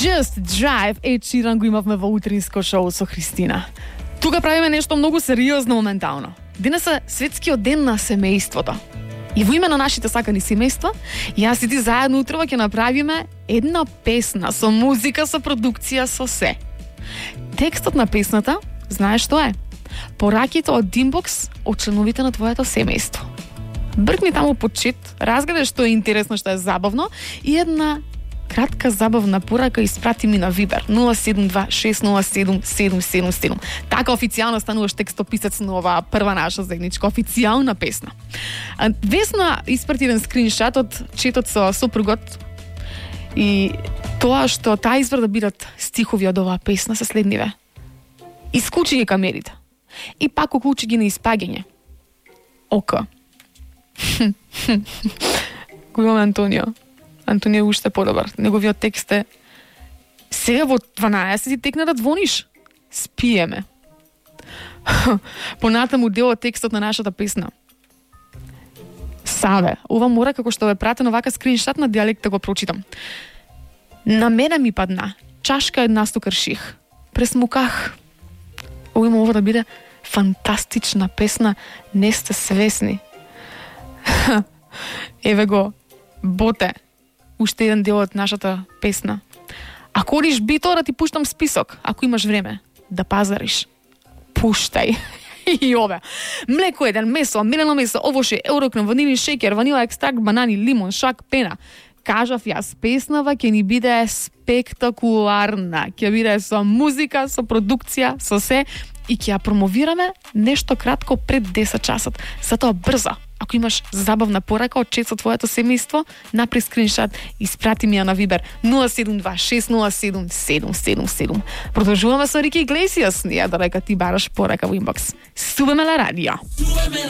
Just Drive Ed Sheeran го имавме во утринско шоу со Христина. Тука правиме нешто многу сериозно моментално. Денес е светскиот ден на семејството. И во име на нашите сакани семејства, јас и ти заедно утрово ќе направиме една песна со музика, со продукција, со се. Текстот на песната, знаеш што е? Пораките од Inbox од членовите на твоето семејство. Бркни таму по чет, разгледај што е интересно, што е забавно и една кратка забавна порака испрати ми на Viber 072-607-777. Така официјално стануваш текстописец на оваа прва наша заедничка официјална песна. Весна испрати еден скриншот од четот со сопругот и тоа што таа избра да бидат стихови од оваа песна се следниве. Исклучи ги камерите и пак уклучи ги на испаѓање. Ока. Го имаме Антонио. Антонио е уште подобар. Неговиот текст е: сега во 12 ти текна да звониш. Спиеме. Понатаму дел од текстот на нашата песна. Саве, ова мора како што ве пратено вака скриншот на дијалект да го прочитам. На мене ми падна чашка една стукарших. Пресмуках. Има ова да биде фантастична песна, не сте свесни. Еве го, Боте, уште еден дел од нашата песна. Ако одиш бито, да ти пуштам список, ако имаш време да пазариш. Пуштај. И ове. Млеко еден, месо, мелено месо, овоше, еурокрем, ванилин шеќер, ванила екстракт, банани, лимон, шак, пена. Кажав јас, песнава ќе ни биде спектакуларна. Ќе биде со музика, со продукција, со се и ќе ја промовираме нешто кратко пред 10 часот. Затоа брзо. Ако имаш забавна порака од чет со твоето семејство, напри скриншот и испрати ми ја на Viber 072-607-777. Продолжуваме со Рики Иглесијас, ние додека ти бараш порака во инбокс. Субеме на радио.